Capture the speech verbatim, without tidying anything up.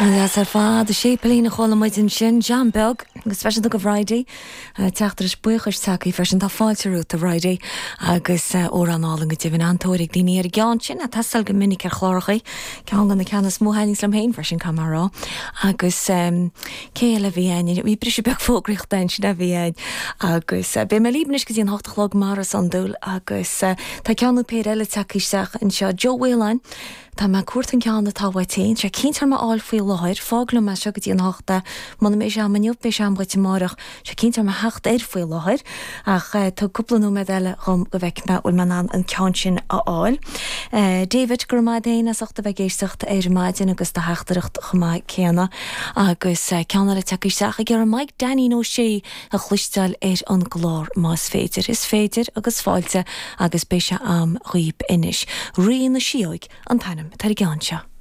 Deas ar fad a séipéilín a chuala muid ansin John Beag agus speisialta do Bhridie teachtaireacht buíochais tagtha freisin tá fáilte romhat a Bhridie agus amhrán álainn go deimhin an-tóir ag daoine ar an gceann sin ag teastáil go minic ar chláracha ceann de na ceanna is mó a thaitníonns liom féin freisin caithfidh mé a rá agus cé eile a bhí ann bhí briseadh beag fógraíochta ansin a bhí ann agus beidh mé libh anois go dtí an hocht a chlog mar is iondúil agus tá ceann nó péire eile tagtha isteach anseo Joe Whelan Tá mé ag cuartú an ceann atá uait féin, sé cinnte orm a fháil faoi láthair, fág liom é seo go dtí an hocht é, muna mbeidh sé a'm inniu beidh sé a'm dhuit amárach, sé cinnte orm a theacht air faoi láthair, ach tug cúpla nóiméad eile dhom go bhfeicfidh mé bhfuil mé in ann an ceann sin a fháil. David, go raibh maith a'd féin as ucht a bheith ag éisteacht ar maidin agus do theachtaireacht chomh maith céanna. Agus ceann eile tagtha isteach ag iarraidh Mike Danny O'Shea a chloisteáil ar an gclár más féidir. Is féidir agus fáilte agus beidh sé a'm dhaoib anois. Rí na Síóg an t-ainm atá ar an gceann seo.